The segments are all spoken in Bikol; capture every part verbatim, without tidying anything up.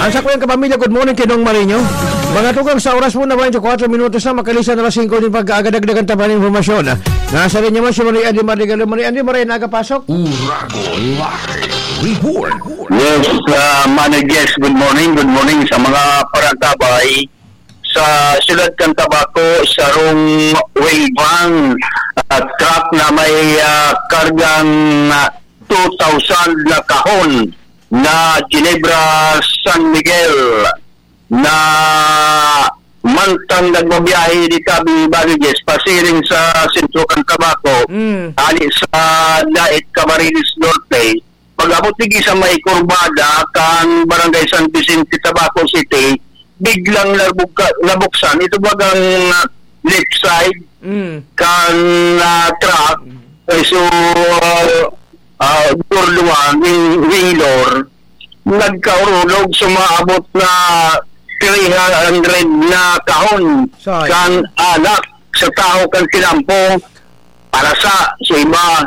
Ang sakuyang kapamilya, good morning, Kinong Marinho. Mga tugang, sa oras po na twenty-four minutos na, makalisan na alas singko nin pagkaagad, dagdagan ta pa nin impormasyon. Nasa linya man si Maria Andy Madrigal. Maria Andy, maray na aga pasok. Uragon Live Report. Yes, uh, Manoy Jess, good morning, good morning sa mga paragtabay sa siyudad kan Tabaco, sarong wheel van at truck na may, ah, kargang, ah, two thousand na kahon na Ginebra San Miguel na mantang nagbabiyahe di tabi Baliges, pasiring sa sentro kan Tabaco, Mm. hali sa Dait, Camarines Norte, pag-abot digdi sa may kurbada kan Barangay San Vicente, Tabaco City, biglang nabugka-, nabuksan ito bagang, ah, left side Mm. kan, ah, truck. Eh, so, ah, ah, Gordoan, wing, wing door, nagkaurulog, sumaabot na three hundred na kahon Sayang. kan alak sa tahaw kan tinampo para sa, sa iba.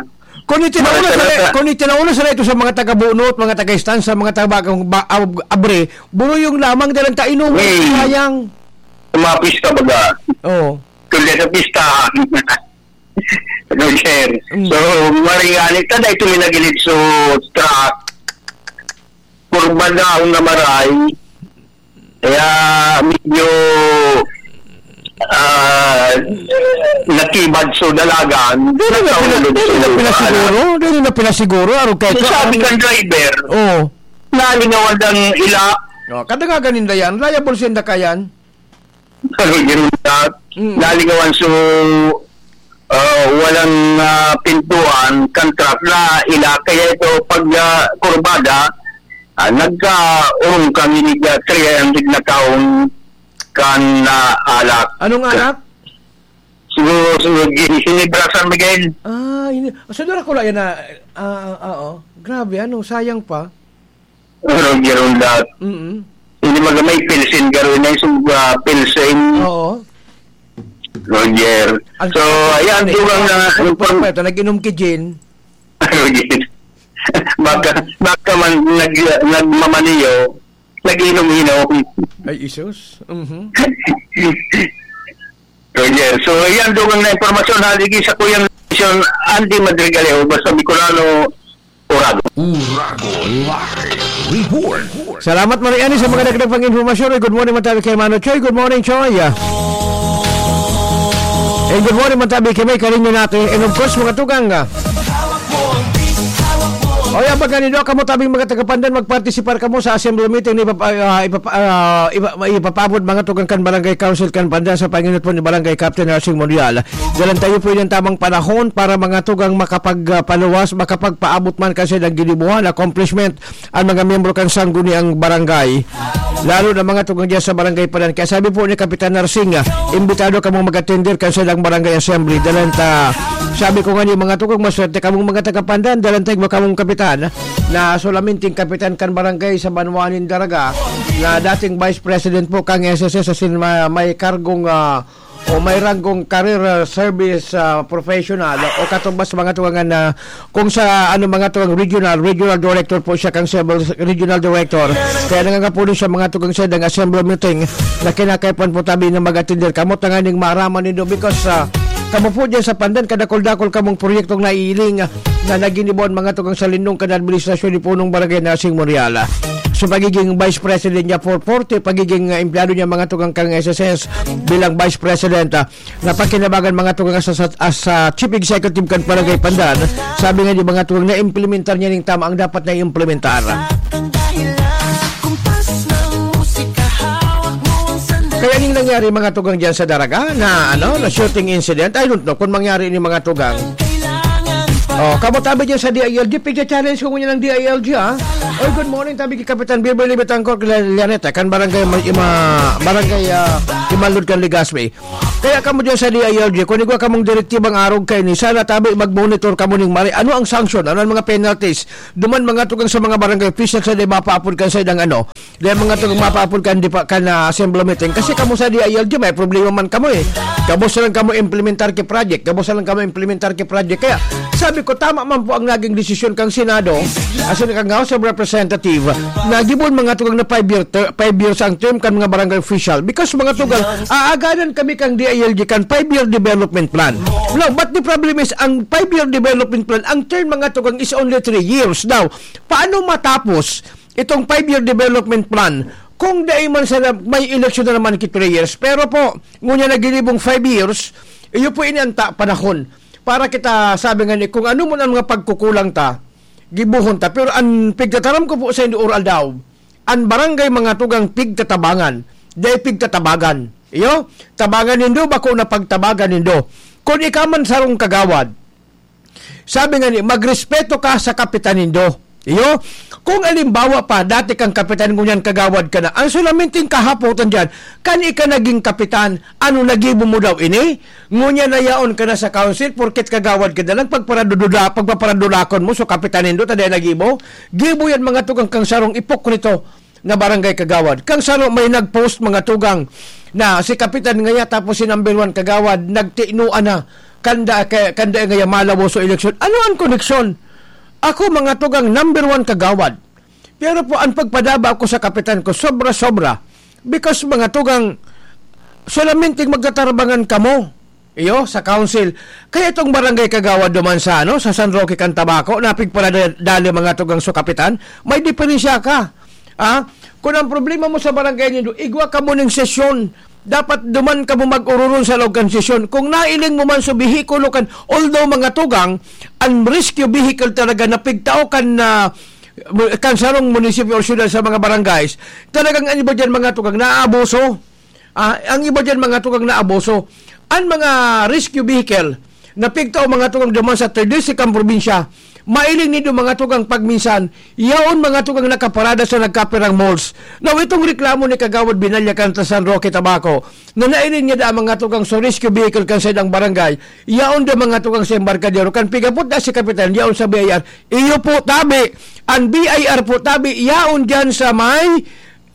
Kung itinaulo Para sa sa, nata- kung itinaulo sa ito sa mga taga-bunot, mga taga-istansa, mga taga-, ba-, ab-, abre, buro yung lamang dalang tainom, Hmm. sayang. Sa mga pista baga. Oo. Kung di sa pista. Roger. Mm. So, maring ani, tada ito may nagilid sa truck. Kurba daw na maray. Kaya medyo, ah, natibad sa dalagan. Dili na pina-, Nahulog dili na sila. pinasiguro, dili na pinasiguro, arog kay So, ka, sabi ang kan driver, Oo. nalingawan ang ila. Oh, kada nga ganin dayan, liable sa indakayan. Pero yun na, Mm. nalingawan so, ah, walang, ah, pintuan kan truck na ila. Kaya ito, pag, ah, kurbada, ah, nagkaurong kang inig, ah, three hundred na taon kan, ah, alak. Anong alak? Siguro, siguro, gi-, Ginebra San Miguel. Ah, ini-, so, dara ko lang yan na, ah, ah, ah, oh. Grabe, ano, sayang pa. Roger Undat. Mm-mm. Hindi magamay, Pilsen, garo na yung sug-, ah, Pilsen. Oo. Roger. Ang So, ayan, ang dugang na ang inform- ito, nag-inom ki Jean. Roger. Baka, baka man nag-, nagmamaniyo, nag-inom-inom. Ay, isus. Mhm. Roger. So, ayan, dugang na impormasyon, haligi sa Kuyang Station, Andy Madrigaleo, basta Bicolano, Uragon. Uragon Live Report. Salamat, Maria Annie, sa mga dagdag pang impormasyon. Good morning, matabi kay Mano Choy. Good morning, Choy. And good morning, matabi kay May Karinyo natin. And of course, mga tugang, ah. O yan, pag ganito, kamo tabing mga taga-Pandan, magpartisipar kamo sa assembly meeting na ipapa-, ah, ipapa-, ah, ipa-, ipapaabot mga tugang kan Barangay Council kan Pandan sa panginot po ni Barangay Captain Racing Monreal. Dalan tayo po yung tamang panahon para mga tugang makapagpaluwas, makapagpaabot man kasi ng ginibuhan, accomplishment, ang mga miyembro kan sangguniang barangay. Lalo na mga tugang dyan sa barangay Pandan. Kaya sabi po ni Kapitan Narsing, ah, imbitado kamong mag-attender kan silang barangay assembly. Dalan ta, sabi ko nga ni mga tugang, maswerte kamong mga taga-Pandan, dalan ta igwa kamong kapitan, na solamente yung kapitan kan barangay sa banwa nin Daraga, na dating vice president po kang S S S, asin ma-, may kargong, ah, o may ranggong career, ah, service, ah, professional o katubas mga tugang na kung sa ano mga tugang regional, regional director po siya kang civil regional director. Kaya nangangapulo siya mga tugang sa dang assembly meeting na kinakaipan po tabi na mag-attender. Kamot na nga ning maaraman nindo because, ah, kamo po dyan sa Pandan, kadakol-dakol kamong proyektong naiiling, ah, na naginibuan mga tugang sa lindong kan administrasyon ni Punong Barangay Nasing Moriala. Sa pagiging Vice President niya for forty, pagiging, ah, empleyado niya mga tugang kang S S S bilang Vice President, ah, napakinabangan mga tugang as, as, as, ah, Chief Executive kan Barangay Pandan. Sabi nga ni mga tugang na implementar niya ning tama ang dapat na implementar. Kaya ning nangyari mga tugang dyan sa Daraga na ano, na shooting incident, I don't know kung mangyari ni mga tugang. Oh, kamo tabi dyan sa D I L G, pigya-challenge ko ngunyan ng D I L G, ah. Oy, good morning, tabi kay Kapitan Beverly Betancourt, Lianeta, kan barangay Ma-, Ima-, barangay, ah, Imanlod kan Legazpi. Kaya kamo dyan sa D I L G, kung igwa kamong direktibang arog kaini, sana tabi mag-monitor kamo ning mari. Ano ang sanction? Ano ang mga penalties? Duman mga tugang sa mga barangay official sa di mapaapod kan sa idang ano, Dahil mga tugang mapaapod kan di pa, kan, ah, assembly meeting. Kasi kamo sa D I L G, may problema man kamo eh. Gabos na lang kamo implementar ki project. Gabos na lang kamo implementar ki project. Kaya, sabi kung tama man po ang naging desisyon kang Senado, asin kang House of Representative, na gibon mga tugang na five year ter-, five years ang term kan mga barangay official. Because mga tugang, aaganan kami kang D I L G kan five-year development plan. No, but the problem is, ang five-year development plan, ang term mga tugang is only three years. Now, paano matapos itong five-year development plan kung dai man sana may eleksyon na naman ki three years? Pero po, ngunyan na ginibong five years, iyo po ini ang ta-, panahon para kita sabi nga ni, kung ano man ang mga pagkukulang ta, gibohon ta. Pero ang pigtataram ko po sa inyo, Oral daw, ang barangay mga tugang pigtatabangan, dai pigtatabagan. Iyo, tabangan nindo, bako na pagtabagan nindo. Kung ikaw man sarong kagawad, sabi nga ni, magrespeto ka sa kapitan nindo. Iyo, kung alimbawa pa, dati kang kapitan, ngunyan kagawad ka na. Ang sulaminting kahapotan dyan, kan ika naging kapitan, ano, nagibo mo daw ini? Ngunyan na yaon ka na sa council, porket kagawad ka na lang, pagparadudula-, pagpaparadulakon mo, so kapitan nindo, ta dai nagibo? Gibo yan, mga tugang, kang sarong ipokrito na barangay kagawad. Kang saro may nag-post, mga tugang, na si kapitan ngaya tapos si number one kagawad, nagtinuan na. Kanda, ka-, kanda ngaya malawo sa eleksyon. Ano ang koneksyon? Ako, mga tugang, number one kagawad. Pero po, ang pagpadaba ko sa kapitan ko, sobra-sobra. Because, mga tugang, solamente magtatarbangan kamo. Iyo, sa council. Kaya itong barangay kagawad duman sa, ano, sa San Roque kan Tabaco, napigparadali mga tugang sa kapitan, may diferensya ka. Ah, kung ang problema mo sa barangay nindo, igwa kamo ning sesyon. Dapat duman kamo mag-ororong sa laog kan sesyon. Kung nailing mo man sa behikulo kan, although mga tugang, ang rescue vehicle talaga na pigtao kan, ah, kan sarong munisipyo o syudad sa mga barangays, talagang ang iba dyan mga tugang, naabuso. Ah, ang iba dyan, mga tugang, naabuso. Ang mga rescue vehicle na pigtao, mga tugang, duman sa third district kan probinsya, mailing nindo, mga tugang, pagminsan, yaon, mga tugang, nakaparada sa nagkapirang malls. Now, itong reklamo ni Kagawad Binalya kan San Roque, Tabaco, na nailing niya da, mga tugang, sa rescue vehicle kan sa idang barangay, yaon da, mga tugang, sa embarkadero. Kan pigapot na si Kapitan, yaon sa B I R. Iyo po, tabi. Ang B I R po, tabi, yaon dyan sa may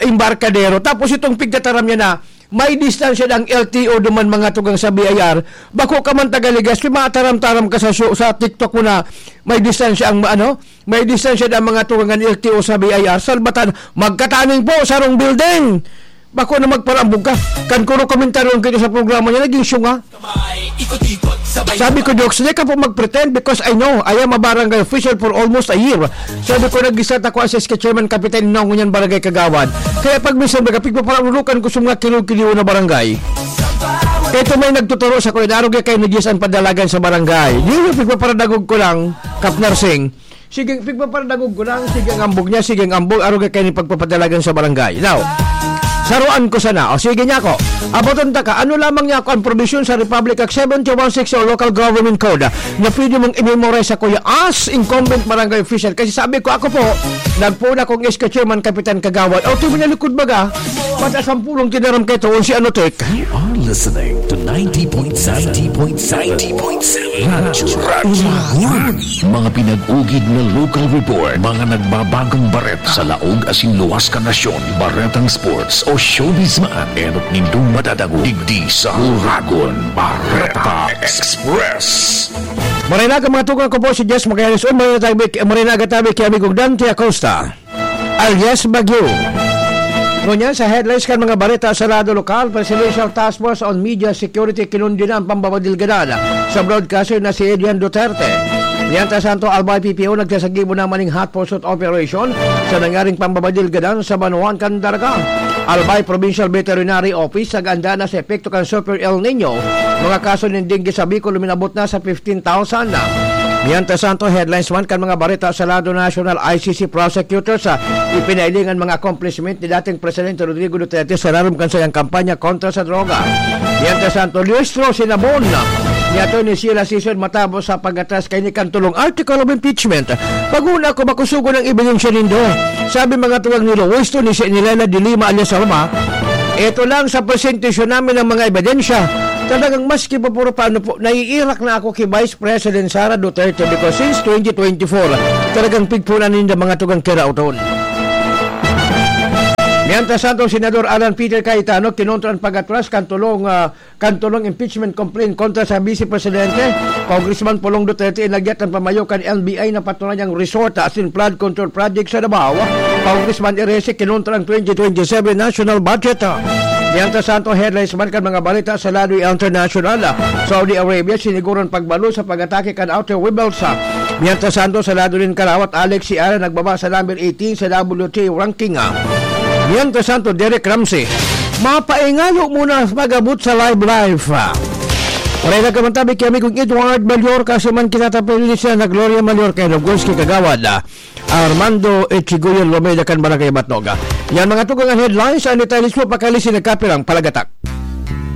embarkadero. Tapos itong pigtataram niya na, may distansya ang L T O duman, mga tugang, sa B I R. Bako ka man taga Legazpi, mataram-taram ka sa show, sa TikTok mo na may distansya ang, ano, may distansya ang mga tugang ang L T O sa B I R. Salbatan, magkataning po, sarong building. Bako na magparambog ka. Kan kuro komentaryo ang kita sa programa niya, naging syunga. Sabi ko, "Jokes, di ka po mag-pretend because I know, I am a barangay official for almost a year." Sabi ko, "Nag-start ako as S K chairman, kapitan, na ngunyan barangay kagawad. Kaya pag minsan baga, pigpaparurukan ko sa mga kiliw-kiliw na barangay." Kaya ito may nagtuturo sa kuya, "Arog ya kayo ni Diyos ang padalagan sa barangay." Di yung pigpaparadagog ko lang, Kap Narsing. Sige, pigpaparadangog ko lang, sige ang ambog niya, sige ang ambog, arog kay ni pagpapadalagan sa barangay. Now, saruan ko sana. O, sige niya ako. Aboton ta ka, ano lamang niya ako ang probisyon sa Republic Act seven two one six o Local Government Code na pwede mong i-memorize sa kuya as incumbent barangay official? Kasi sabi ko, ako po, nagpuna kong S K chairman, kapitan, kagawad. O, tuwi na likod baga, pata sampulong tinaram kay Toon si ano, Tek. You are listening to ninety point seven. Ninety point seven. Radyo Uragon. Mga pinag-ugid na local report, mga nagbabagong bareta sa laog asin luwas kan nasyon, baretang sports o showbiz man, enot nindong madadangog digdi sa Uragon Bareta Express. Maray na ka, mga tugang, ko po si Jess Magallanes. Uy, maray na tabi, maray na ka tabi kay Amigo Dante Acosta. Alias Bagyo. Ngunyan sa headlines kan mga bareta sa lado lokal, Presidential Task Force on Media Security kinundi na ang pambabadilgadan sa broadcaster na si Adrian Duterte. Mientras tanto, Albay P P O nagsasagibo na maning hot pursuit operation sa nangyaring pambabadilgadan sa Banwaan kan Daraga. Albay Provincial Veterinary Office nag-anda na sa epekto kan Super El Nino. Mga kaso nin dengue sa Bicol luminabot na sa fifteen thousand. Mientras tanto, headlines man kan mga bareta sa lado national, I C C prosecutors, ah, ipinailing an mga accomplishment ni dating Presidente Rodrigo Duterte sa larom kan sayang kampanya kontra sa droga. Mientras tanto, lustro sinabon ni Attorney Sheila Sison matapos sa pag-atras kay ni kan tulong article of impeachment. Pag-una ko, makusugon ang ebidensya nindo. Sabi mga tuwang ni Luis to, ni, ni Lela de Lima alias Roma, "Eto lang sa presentasyon namin ng mga ebidensya." Talagang maski pa puro paano po, naiirak na ako kay Vice President Sara Duterte because since twenty twenty-four, talagang pigpunan ninda mga tugang kirauton. Mientras tanto, Senador Alan Peter Cayetano kinontra ang pag-atras kan tulong, ah, kan tulong impeachment complaint kontra sa Vice Presidente, Congressman Pulong Duterte, inagyat ang pamayo kan N B I na patunay ang resort asin flood control project sa Davao. Congressman Erese kinontra ang twenty twenty-seven national budget. Mientras tanto, headlines man kan mga balita sa lado international. Saudi Arabia siniguran pagbalo sa pag-atake kan outer rebels. Mientras tanto, sa lado nin karawat, Alex Sierra nagbaba sa number eighteen sa W T A ranking. Mientras tanto, Derek Ramsey, mapaingalo muna mag-abot sa live life. Pareha ka man tabi ki amigong Edward Mallorca, si man kinatapil ni siya na Gloria Mallorca, and of course, ki Kagawad, ah, Armando Echigoyen Lomeda kan Barangay Batnoga. Yan mga tugang an headlines, ang detalye mismo pakali si nagkapirang palagatak.